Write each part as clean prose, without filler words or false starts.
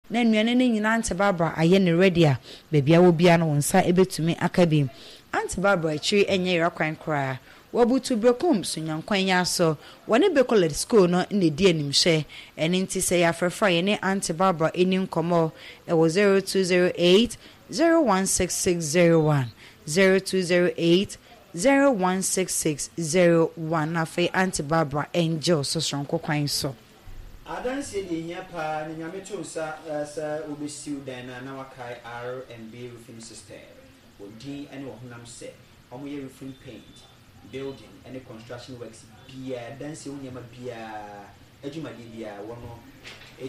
Na nnuane no nyinaa Auntie Barbara ayɛ no ready a, baabi a wɔ biara no wo nsa bɛtumi aka bi. Auntie Barbara akyiri nyɛ yera kwan koraa. Wabutu Berekum Sonyankwan yi ara so. Wɔne Bekoled School no na ɛdi animhwɛ. Ɛno nti sɛ yɛ afrɛfrɛ a yɛne Auntie Barbara nni nkɔmmɔ wɔ 0208 016601, 0208 016601 na afei Auntie Barbara ngye wo so soronko kwan so. Adansie deɛ ehia paa na Nyame to nsa sɛ wobɛsiw dan no a na wakae R&B roofing system wɔ din ne wɔ honam sɛ wɔn yɛ roofing paint, building ne construction works biaa, adansie ho nneɛma biaa, adwumadeɛ biaa wɔn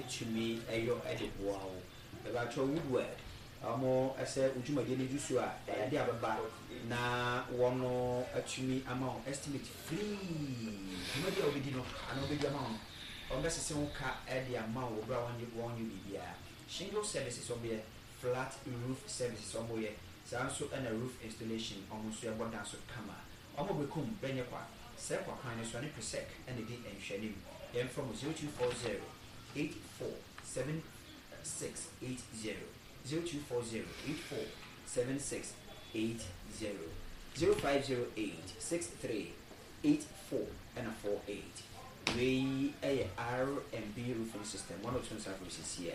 tumi yɔ de boa wo. Mepakyɛw Woodward wɔn sɛ wo dwumadie no du so a ɛyɛ adeɛ a bɛba na wɔn atumi ama wo estimate free dwumadie a wobɛdi no anaa wobɛdi ama wo no wɔn bɛsese wo ka de ama wo wɔ berɛ a wɔn wɔn nyɛ biribiara. Shingle services wɔn yɛ, flat roof services wɔn yɛ, saa nso na roof installation wɔn nso ɛbɔ dan so kama. Wɔn bɛkum bɛnyɛ kwa sɛ kwa kwan no so ɛne presec na ɛdi nhwɛanim. Yɛmfrɛ mo 0240 84 7680 0240 84 7680 0508 63 84 ɛna 48. Wei yɛ R&B roofing system wɔn a ɔto nsa afiri sisi a.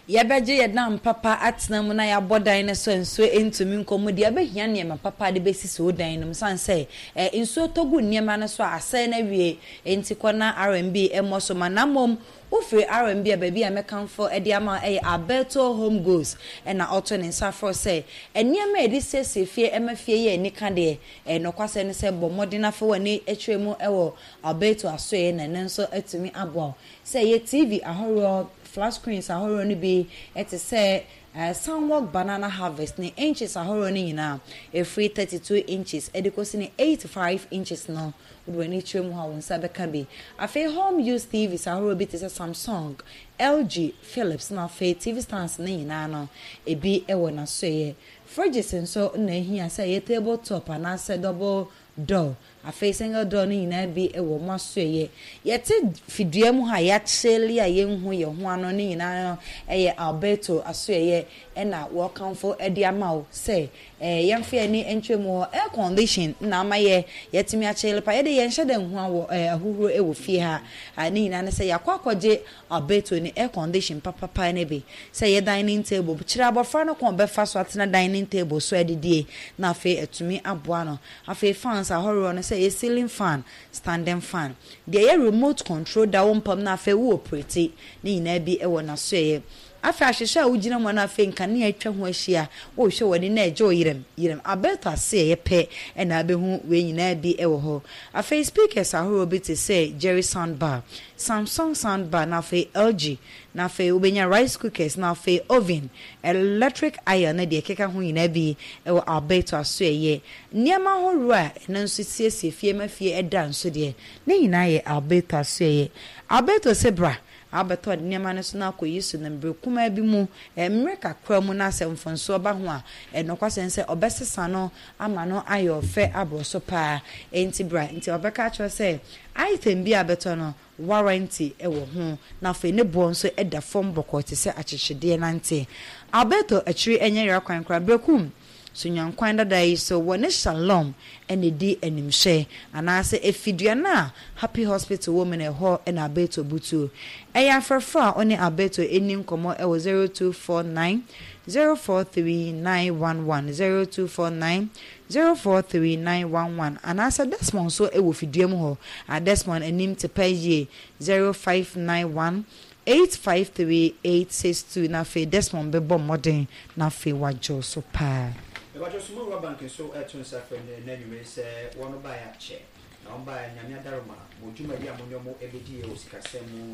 Yɛbɛgye yɛn dan papa atena mu na yɛabɔ dan no so a nsuo ntumi nkɔ mu deɛ, yɛbɛhia nneɛma papa de bɛsisi wo dan no mu sane sɛ nsuo tɔ gu nneɛma no so a asɛe no awie. Enti kɔ na R&B mmɔ so ma na mmom wofiri R&B a baabi a mɛkamfo de ama wo yɛ Alberto Home Goods na ɔto ne nsa frɛ wo sɛ nneɛma a yɛde siesie fie ma fie yɛ anika deɛ ɛyɛ nokwasɛm ne sɛ bɔ mmɔden na fa w'ani kyerɛ mu wɔ Alberto asoɛeɛ na ɛno nso atumi aboa wo sɛ ɛyɛ TV ahoroɔ, flat screens ahoroɔ no bi te sɛ Sunwalk Banana Harvest ne inches ahoroɔ no nyinaa, ɛfiri 32 inches de kɔsi ne 85 inches no, wode w'ani kyerɛ mu hɔ a wo nsa bɛka bi. Afei home use TVs ahoroɔ bi te sɛ Samsung, LG, Philips na afei TV stands no nyinaa no, ebi wɔ n'asoɛeɛ. Fridges nso na ɛhia sɛ ɛyɛ table top anaasɛ double door. Afei single door no nyinaa bi wɔ mo asoɛeɛ. Yɛte fidua mu ha a yɛakyele a yɛnhu yɛn ho ano no nyinaa no yɛ Alberto asoɛeɛ na wɔrekamfo de ama wo sɛ yɛmfa yɛn ani nkyerɛ mu hɔ. Air condition na ama yɛ yɛatumi akyele pa. Yɛde yɛnhyɛ da nhu awɔ ahuhuro wɔ fie ha. Ne nyinaa ne sɛ yɛakɔ akɔgye Alberto ne air condition papapa no bi sɛ ɛyɛ dining table. Kyerɛ abɔfra no kwan a ɔbɛfa so atena dining table so adidie na afei atumi aboa no. Afei fans ahoroɔ no sɛ ɛyɛ ceiling fan, standing fan, deɛ ɛyɛ remote control da wo mpam na afei wo operate ne nyinaa bi wɔ n'asoɛeɛ. Afei ahwehwɛ a wogyina mu anaa afei nkanea atwa ho ahyia, wohwɛ w'ani na ɛgye wo yerɛm yerɛm. Alberto asoɛeɛ pɛ na wobɛhu wei nyinaa bi wɔ hɔ. Afei speakers ahoroɔ bi te sɛ Jerry sound bar, Samsung sound bar na afei LG na afei wobɛnya rice cookers na afei oven, electric iron ne deɛ ɛkeka ho nyinaa bi wɔ Alberto asoɛeɛ. Nneɛma ahoroɔ a ɛno nso siesie fie ma fie da nso deɛ, ne nyinaa yɛ Alberto asoɛeɛ. Alberto se bra abɛtɔ nneɛma no so na akɔyi so no mmerɛ kumaa bi mu, mmerɛ kakra mu na sɛ mfomsoɔ ba ho a, nokwasɛm sɛ ɔbɛsesa no ama no ayɛ ɔfɛ aboro so paa. Enti bra, nti ɔbɛka akyerɛ wo sɛ item bi a bɛtɔ no, warranty wɔ ho, na afei ne boɔ nso da fam bɔkɔɔ te sɛ akyekyedeɛ nante. Alberto akyiri nyɛ yera kwan koraa. Berekum so nyankwan dada yi so wɔ ne Shalom na ɛdi animhwɛ, anaasɛ ɛfi dua no a Happy Hospital wɔ mu no ɛhɔ na Alberto butuo. Ɛyɛ afrɛfrɛ a ɔne Alberto nni nkɔmmɔ wɔ 0249 043 911, 0249 043 911, anaasɛ Desmond nso wɔ fidua mu hɔ a Desmond anim te pɛ yie, 0591 853 862, na afei Desmond bɛbɔ mmɔden na afei wagye wo so paa. Mepakyɛw Sumowura Bank nso reto nsa frɛ nnɛ nnɛ anwummere yi sɛ wɔn baeɛ akyɛ na wɔn baeɛ Nyame adaroma mo dwumadi a mo ne wɔn bɛdiiɛ wɔ sikasɛm mu no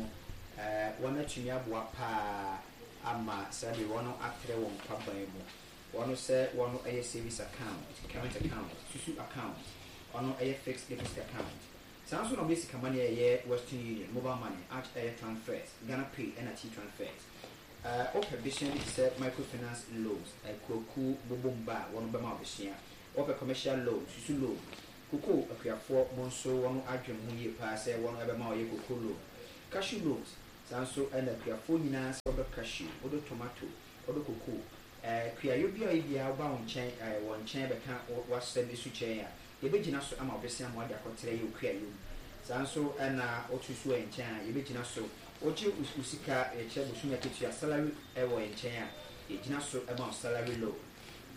wɔn atumi aboa paa ama saa bere wɔn atrɛ wɔn kwaban mu. Wɔn sɛ wɔn yɛ savings account, current account, susu account, wɔn yɛ fixed deposit account. Saa nso na wɔyɛ sika money a ɛyɛ Western Union, mobile money, arch ɛyɛ transfers, Ghana Pay ɛna T-transfers. Ɛɛ wopɛ besua bi te sɛ microfinance loans, akuakuo bobom ba a wɔn bɛma wo besua. Wopɛ commercial loan, susu loan, cocoa akuafoɔ mo nso wɔn adwene mo ho yie paa sɛ wɔn ɛbɛma wo yɛ cocoa loan, cashew loans. Saa nso na akuafoɔ nyinaa sɛ wodɔ cashew, wodɔ tomato, wodɔ cocoa, kuayɔ biara a ɔyɛ biara woba wo nkyɛn, wɔn nkyɛn bɛka w'asɛm su kyerɛ yɛn a, yɛbɛgyina so ama wo bɛsia ma wode akɔtrɛ yɛ wo kuayɔ mu. Saa nso na woto su wɔ yɛn nkyɛn a, yɛbɛgyina so. Wogye wo sika, yɛkyerɛ bosome akatua, salary, wɔ yɛn nkyɛn a, yɛgyina so ma wo salary loan.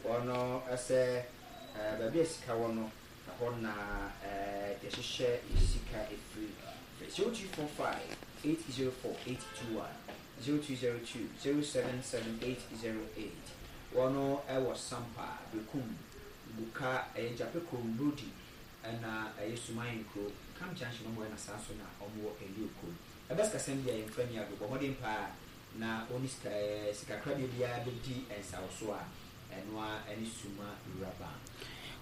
Wɔn sɛ baabi a sika wɔ no, Ɛhɔ na yɛhyehyɛ sika firi. Frɛ 0245 804 821, 0202 077 808. Wɔn wɔ Sampa, Berekum, Buka, ɛyɛ Gyapɛ kurom, Brodi, ɛna ɛyɛ Suman nkuro, Camp Junction wɔn wɔ ɛna saa nso na wɔn wɔ Elio kurom. Ɛba sikasɛm deɛ yɛmfa nni agorɔ, bɔ mmɔden paa na wo ne sika sikakorabea biara bɛdi nsawosoɔ a, ɛno ara ne Suma Rural Bank.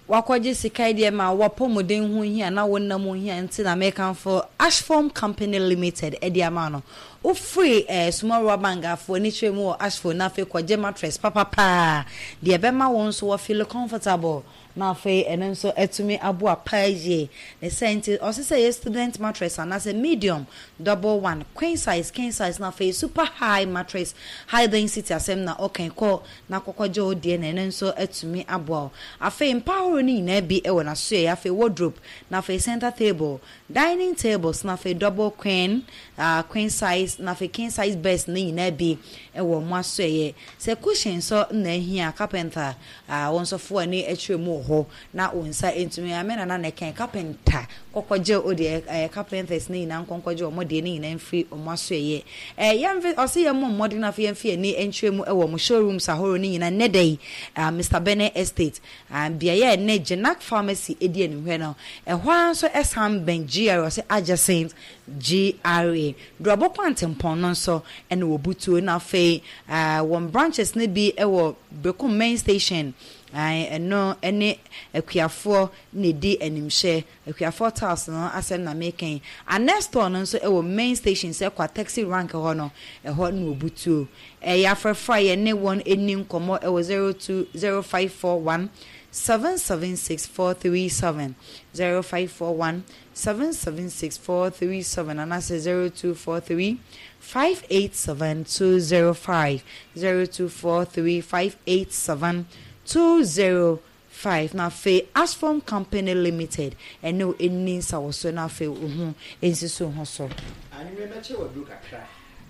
Wakɔgye sika yi deɛ ma w'apɔmuden ho hia na wo nna mu hia nti na mekamfo Ashfoam Company Limited de ama no. Wofiri eh, Suma Rural Bank afo ani kyerɛ mu wɔ Ashfoam na afei kɔgye mattress papapaa deɛ ɛbɛma wo nso wa feel comfortable na afei ɛno nso atumi aboa paa yie. Ne saa nti ɔse sɛ ɛyɛ student mattress anaasɛ medium, double one, queen size, king size na afei super high mattress, high density asɛm na ɔka yi kɔ na kɔkɔgye wo deɛ na ɛno nso atumi aboa wo. Afei mpa ahorow no nyinaa bi wɔ n'asoɛeɛ, afei wardrobe, na afei center table, dining tables, na afei double queen, ah, queen size, na afei king size beds no nyinaa bi wɔ wɔn asoɛeɛ. Sɛ cushion nso na ahia a, carpenter, ah, wo nso fa w'ani kyerɛ mu wɔ hɔ na wo nsa ntumi, ah, me nana na ɛkae, carpenter, kɔkɔgye wo deɛ, eh, carpenters no nyinaa nkɔnkɔgye wɔn deɛ no nyinaa mfiri wɔn asoɛeɛ. Eh, yɛmfe, ɔse yɛmmɔ mmɔden na afei yɛmfa yɛn ani nkyerɛ mu wɔ wɔn showrooms ahorow no nyinaa nnɛ da yi, ah, Mister Bene Estate, ah, beaeɛ a ɛnnɛ Genac Pharmacy di animhwɛ no, ɛhɔ ara nso ɛsan bɛn GRA, ɔse adjacent GRA. Duabɔ Kwantempɔn no nso ɛna wɔbutuo, na afei, ah, wɔn branches no bi wɔ Berekum Main Station, ah, ɛno ne akuafoɔ na ɛdi animhwɛ. Akuafoɔ tiles no asɛm na meka yi. Anɛ store no nso wɔ main station sɛ kwa taxi rank hɔ no, ɛhɔ na wɔbutuo. Ɛyɛ afrɛfrɛ a yɛne wɔn nni nkɔmmɔ wɔ 02 0541 776 437, 0541 776 437 anaasɛ 0243 587 205, 0243 587 205. 5 na afei Asphorm Company Limited ɛne wo nni nsawɔsoɔ na afei wo ho nsisi wo ho so. Anwummerɛ mɛkyɛ wo aduro kakra.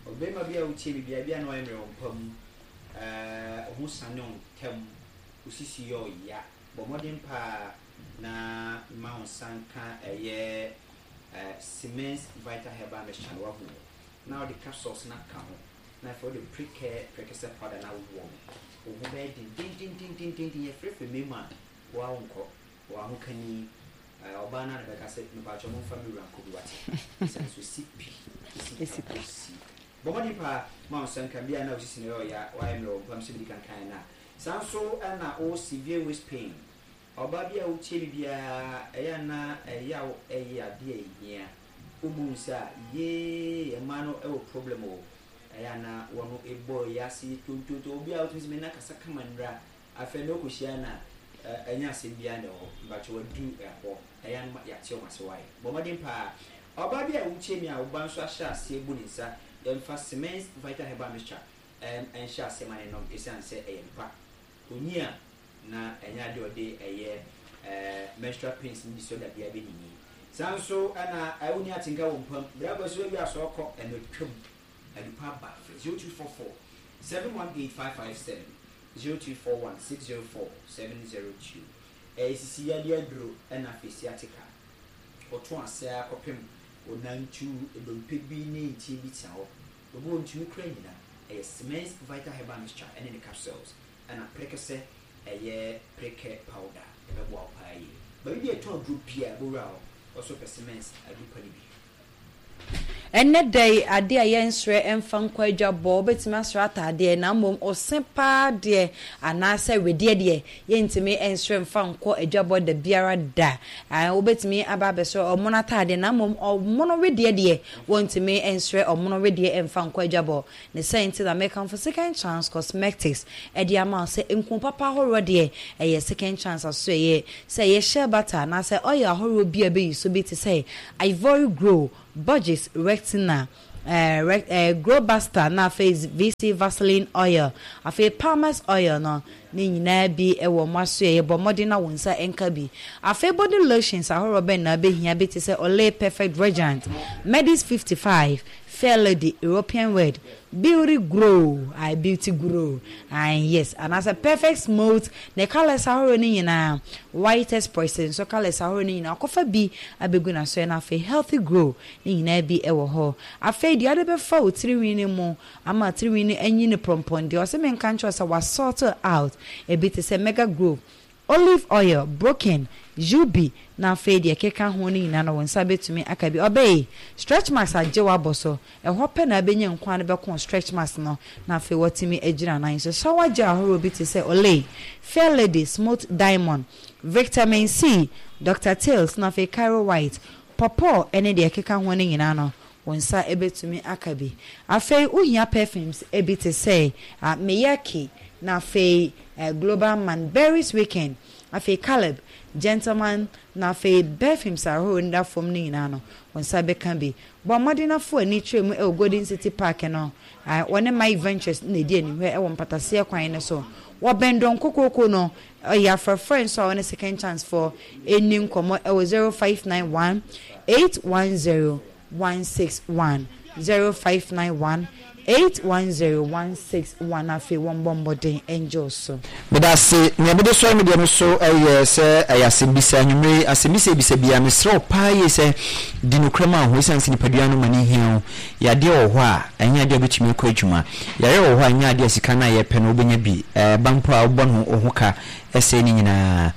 Ɔbarima bi a wotie me biara, ebia na wayɛ mmerɛ wɔ mpa mu, eh, wo ho sane wo ntɛm, wo sisi yɛ ɔya. Bɔ mmɔden paa na ma wo nsa nka ɛyɛ eh, Siemens Vital Herbal Mixture no, wahu o, na wode capsules no aka ho. Na afei wode prekɛ prekɛsɛ powder no awowɔ ho. Wo ho bɛyɛ dendendendendenden. Yɛfrɛfrɛ mmarima a, wo ara wonkɔ. W'ahokani, ɔbaa no ara na ɛbɛka sɛ, Mepakyɛw momfa me wura nkɔ bi, wate? Esiane sɛ osi pi, esi pa, osi. Bɔ mmɔden paa ma wo nsa nka bi a na wo sisi no yɛ ɔya, woayɛ mmerɛ wɔ mpa mu sɛ medi kan kaeɛ no a. Saa nso na wo severe waist pain. Ɔbaa bi a wotie me biara, ɛyɛ a na ɛyaw yɛ adeɛ a ɛhia. Wobu wo nsa a, yee, mmaa no wɔ problem o. Ɛyɛ a na wɔn bɔ wiase tontonton. Obi a wotumi sɛ me nna kasa kama nnura. Afei na okohyia no a, ɛnyɛ asɛm biara na ɛwɔ hɔ. Mpakyɛ wadu ɛhɔ. Ɛyɛ a na yɛate wɔn ase wai. Bɔ mmɔden paa. Ɔbaa bi a wotie me a wo ba nso ahyɛ aseɛ bu ne nsa, yɛmfa Siemens Vital Herbal Mixture nhyɛ aseɛ ma no nnom esiane sɛ ɛyɛ mpa. Onyi a, na ɛnyɛ ade a ɔde ɛyɛ menstrual pains ne disorder biara bɛnyini. Saa nso na wonni atenka wɔ mpa mu. Berɛ akɔ so awie asɔre kɔ, ɛno atwam. Adupa aba. Frɛ 0244 718 557, 0241 604 702. Ɛyɛ sisi yadeɛ aduro ɛna afei sciatica. Ɔto ase ara kɔpem onantu, dompe bi ne ntin bi tea hɔ. Obi wɔ ntumi kura nyina. Ɛyɛ Siemens Vital Herbal Mixture ɛne ne capsules ɛna prekɛsɛ ɛyɛ prekɛ powder. Ɛbɛboa wo paa yie. Baabi bi a yɛtɔn aduro biara bɔwura hɔ. Ɔsɔ pɛ Siemens aduru pa no bi. Ɛnnɛ da yi, adeɛ a yɛnsrɛ mfa nkɔ adwabɔ, wobɛtumi asrɛ ataadeɛ, na mmom ose paa deɛ anaasɛ wedeɛ deɛ, yɛntumi nsrɛ mfa nkɔ adwabɔ da biara da. Ae, wobɛtumi aba abɛsrɛ ɔmono ataadeɛ, na mmom ɔmono wedeɛ deɛ, wɔntumi nsrɛ ɔmono wedeɛ mfa nkɔ adwabɔ. Ne saa nti na mekamfo Second Chance Cosmetics de ama wo sɛ nku papa ahoroɔ deɛ, ɛyɛ Second Chance asoɛeɛ. Sɛ ɛyɛ shea butter anaasɛ oil ahoroɔ bi a ɛbɛyi so bi te sɛ Ivory Grow, Borges Retina. ɛɛ ɛɛ Grow Buster na afei VC Vaseline oil, afei Palmer's oil no ne nyinaa bi wɔ mo asoɛeɛ. Bɔ mmɔden na wo nsa nka bi. Afei body lotions ahoroɔ bɛn na wobɛhia bi te sɛ Olay Perfect Radiant, Medis 55, Fair Lady, European Red, Beauty Grow, ae Beauty Grow, ae yes, anaasɛ Perfect Smooth, ne colours ahorow no nyinaa, Whitest Press nso colours ahorow no nyinaa, ɔkɔfa bi abegu n'asoɛ na afei Healthy Grow ne nyinaa bi wɔ hɔ. Afei deɛ wode bɛfa wo tirinwi no mu ama tirinwi no anyini prɔmpɔn deɛ ɔse menka nkyerɛ wo sɛ wa sort out ebi te sɛ Mega Grow, Olive oil, broken, jubi, na afei deɛ ɛkeka ho no nyinaa no wo nsa bɛtumi aka bi. Ɔbɛyi, stretch marks agye w'abɔ so. Ɛhɔ pɛ na abɛnya nkwa no bɛko stretch marks no na afei watumi agyina nan so. Shower gel ahoroɔ bi te sɛ Olay, Fair Lady, Smooth Diamond, Victamin C, Doctor Tales na afei Caro White, Pawpaw ne deɛ ɛkeka ho no nyinaa no wo nsa bɛtumi aka bi. Afei wohia perfumes bi te sɛ Miyake na afei Global Man, Berries Weekend, afei Caleb, Gentleman na afei perfumes ahorow no da fam no nyinaa no, wo nsa bɛka bi. Bɔ mmɔden na fa w'ani kyerɛ mu wɔ Golden City Park no, wɔne Mike Ventures na ɛdi animhwɛ wɔ mpataseɛ kwan no so. Wɔbɛn Dɔn Kokooko no, ɛyɛ afrɛfrɛ nso a wɔne Second Chance foɔ nni nkɔmmɔ wɔ 0591 810 161 0591 810 161 afei wɔmmɔ mmɔden ngye wo so. Meda ase. Nea mede sɔre me deɛ no so yɛ sɛ ɛyɛ asɛmbisa. Anwummere yi, asɛmbisa a ebisa biara, mesrɛ wo paa yie sɛ di nokorɛ ma wo ho esiane sɛ nipadua no ma no hia wo. Yadeɛ wɔ hɔ a, ɛnyɛ adeɛ a wobɛtumi akɔ adwuma. Yareɛ wɔ hɔ a, ɛnyɛ adeɛ a sika no a yɛpɛ no wobɛnya bi. Ɛba mpo a, wobɔ no wo ho ka sɛe ne nyinaa.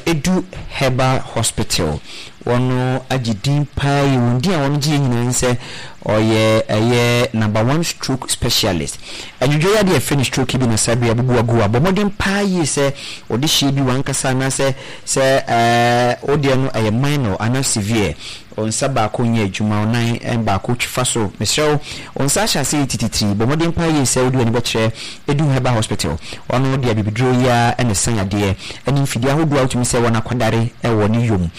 Edu Herbal Hospital, wɔn agye din paa yi, wɔn din a wɔn gye yɛ nyinaa ne sɛ ɔyɛ ɛyɛ number one stroke specialist. Ɛnwodwo yadeɛ a yɛfrɛ no stroke yi bi na saa bere abubu agu a, bɔ mmɔden paa yie sɛ wɔde hyɛ bi w'ankasa anaasɛ sɛ ɛɛ wo deɛ no ɛyɛ minor anaa severe. Wo nsa baako nyɛ adwuma, wo nan baako twi fa so. Mesrɛ wo, wo nsa ahyɛ ase yɛ tititiri. Bɔ mmɔden paa yie sɛ wode w'ani bɛkyerɛ Edu Herbal Hospital. Ɔno de abibiduro yi ara na ɛsa yadeɛ ne mfidie ahodoɔ a wotumi sɛ wɔn akwadare wɔ ne yom.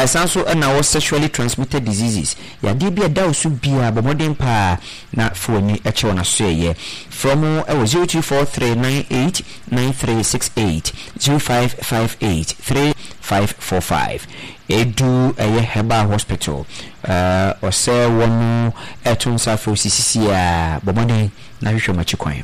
Saa nso na wɔ sexually transmitted diseases, yadeɛ bi a ɛda wo so biara, bɔ mmɔden paa na fa w'ani kyerɛ wɔn asoɛeɛ. Frɛ wɔn wɔ 0243 989368, 0558 3545. Edu ɛyɛ herbal hospital ɔsɛ wɔn ɛto nsa frɛ wo sisisi a bɔ mmɔden na hwehwɛ wɔn akyi kwan.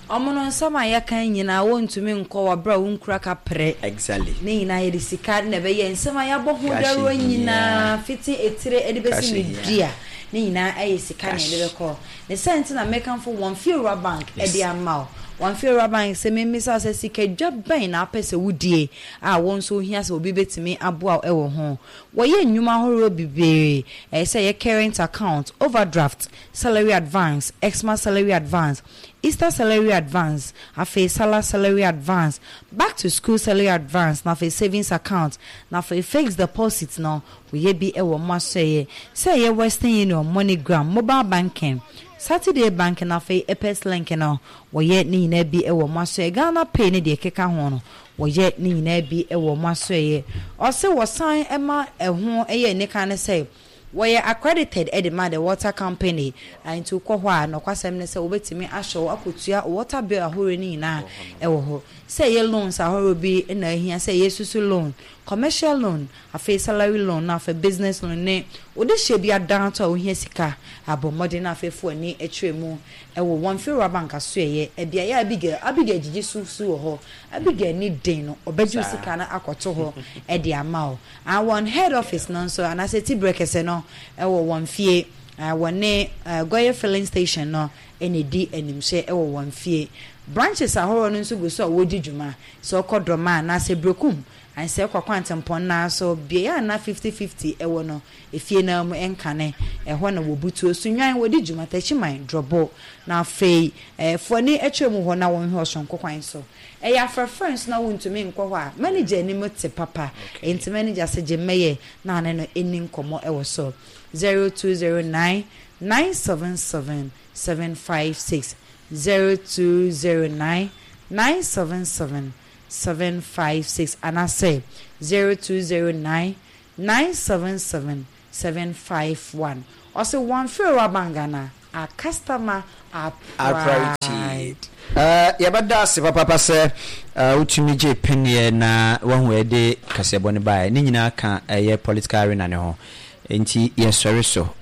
Ɔmo no nsɛm a yɛka yi nyinaa wontumi nkɔ wɔ berɛ a wonkura kaprɛ. Exactly. Ne nyinaa yɛde sika na ɛbɛyɛ nsɛm a yɛabɔ ho Cash dawuro hia. nyinaa fiti etire de bɛsi Cash ne hia. dua ne nyinaa ɛyɛ sika na yɛde Cash. bɛkɔ. Ne saa nti na mekamfo wɔn Fiewura Bank Yes. de ama wo. Wɔn Fiewura Bank sɛ memmisa wo sɛ sika dwa bɛn na wopɛ sɛ wodie a wo nso wohia sɛ obi bɛtumi aboa wo wɔ ho. Wɔyɛ nnwuma ahoroɔ bebree, ɛyɛ sɛ ɛyɛ current account, overdraft, salary advance, Xmas salary advance, Easter salary advance, afei Salah salary advance, back to school salary advance, na afei savings account, na afei fixed deposit no, wɔyɛ bi wɔ mo asɔeɛ sɛ ɛyɛ Western Union, MoneyGram, mobile banking, Saturday banking, na afei Apex link no, wɔyɛ ne nyinaa bi wɔ mo asɔeɛ. Ghana Pay ne deɛ ɛkeka ho no, wɔyɛ ne nyinaa bi wɔ mo asɔeɛ. Ɔse wɔsan ma ɛho yɛ anika ne sɛ, wɔyɛ accredited de ma the water company, nti wokɔ hɔ a nɔkwasɛm ne sɛ wobɛtumi ahyɛ wo akɔtua water bill ahorow no nyinaa wɔ hɔ. Sɛ ɛyɛ loans ahorow bi na ahia sɛ ɛyɛ susu loan, commercial loan, afei salary loan na afei business loan ne wode hyɛ bi adan to a wohia sika abɔ mmɔden na afei fo ani kyerɛ mu wɔ wɔn Fewura Bank asoɛeɛ beaeɛ a Abigail Abigail gyigye su su wɔ hɔ. Abigail ni den no ɔbɛgye wo sika no akɔto hɔ de ama wo. Ah, wɔn head office no nso anaasɛ tibrɛ kɛse no wɔ wɔn fie. Ah, wɔne Goye filling station no na ɛdi animhyɛ wɔ wɔn fie. Branches ahoroɔ no nso gu so a wɔredi dwuma. Sɛ wokɔ Dormaa anaasɛ Berekum Ansɛ kɔ kwantempɔn no ara so, beae a na fifty-fifty wɔ no, efie no ara mu nkane, ɛhɔ na wɔbutuo so nnwan, wɔdi dwuma, takyiman, drɔbo, na afei fo ani kyerɛ mu hɔ na wɔnhwɛ ɔsonko kwan so. Ɛyɛ afrɛfrɛ nso na wontumi nkɔ hɔ a, manager anim te papa, enti manager se gye mmɛyɛ na ne no nni nkɔmmɔ wɔ so. 0209 977 756, 0209 977 756 anaasɛ 0209 977 751. Ɔse wɔnfrɛ Rawbank Ghana, our customer our Our pride. priority. Eh, yɛbɛda ase papaapa sɛ eh, wotumi gye peneɛ na wahu ɛde kaseɛbɔ no baeɛ. Ne nyinaa ka ɛyɛ political arena no ho. Enti yɛsɔre so.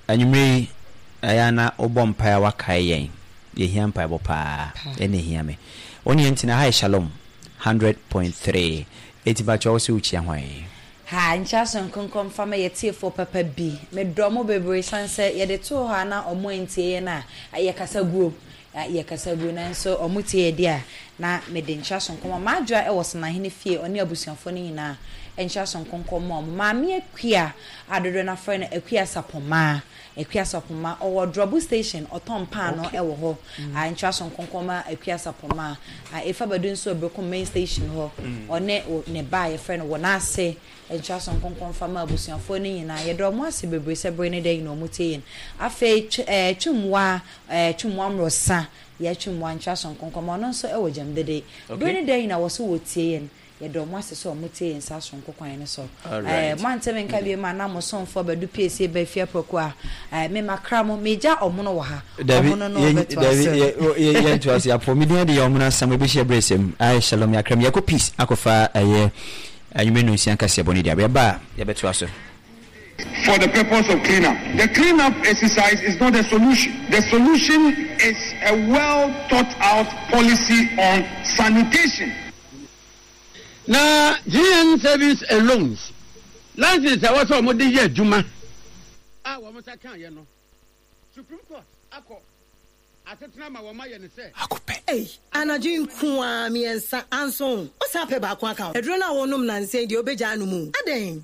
Anwummerɛ yi, ɛyɛ a na wobɔ mpaeɛ a woakae yɛn. Yɛhia mpaebɔ paa. Ɛna ɛhia me. Wo ne yɛn ntena ha yɛ Shalom 100.3. Enti mpakyɛ wo se wokyia hwan? Ha, nkyɛ asonkonkɔ mfa ma yɛ tiefoɔ papa bi. Me dɔ mo bebree sane sɛ yɛde too hɔ a na ɔmo antie yɛn a, yɛkasa guo. Yɛkasa guo nanso ɔmo tie yɛ deɛ a, na mede nkyɛ asonko ma M'adwoa wɔ Senahene fie, ɔne abusuafoɔ no nyinaa nkyɛ asonkonkɔ mma ɔmo. Maame Akua a dodoɔ no afrɛ no Akua Sapɔmaa, Akua Sapɔmaa, ɔwɔ Drɔbo station, ɔtɔn paano wɔ hɔ. Nkyɛ asonkonkɔ ma Akua Sapɔmaa. Efa Badu nso wɔ Berekum main station hɔ, ɔne ne ba a yɛfrɛ no Wɔnase. Nkyɛ asonkonkɔ mfa ma abusuafoɔ no nyinaa. Yɛda ɔmo ase bebree sɛ bere ne da nyinaa ɔmo tie yɛn. Afei Twumwa, Twumwa Mmorosa, yɛ Twumwa nkyɛ asonkonkɔ ma ɔno nso wɔ Gyamdede. Bere ne da nyinaa wɔ so wɔtie yɛn. Yɛda ɔmo ase sɛ ɔmo tie yɛn saa soronko kwan no so. Moante me nka bio a na mo somfoɔ Badu Piesie ba afie aprako a, me makra mo, megya ɔmono wɔ ha. Dabi, Ɔmono no yɛn, ɔbɛtoa dabi, so. yɛ, yɛ, yɛntoa so. Yɛapɔ. Me din de yɛ Ɔmono Asam. Yɛbɛhyia berɛ sɛm. Ayɛ Shalom Yɛakra mu. Yɛkɔ Peace akɔfa ɛyɛ anwummerɛ nnɔnsia nkaseɛbɔ no di. Yɛba a, yɛbɛtoa so. For the purpose of clean up. The clean up exercise is not the solution. The solution is a well thought out policy on sanitation. Na GN Savings and Loans license a ɛwɔ sɛ wɔde yɛ adwuma a wɔn nsa kaeɛ no, Supreme Court akɔ asetena ma wɔayɛ no sɛ. Ei, anadwo yi nko ara, miɛnsa, anso wo san pɛ baako aka ho. Aduro no a wonom nnansa yi deɛ wobɛgyaa anom o. Adɛn?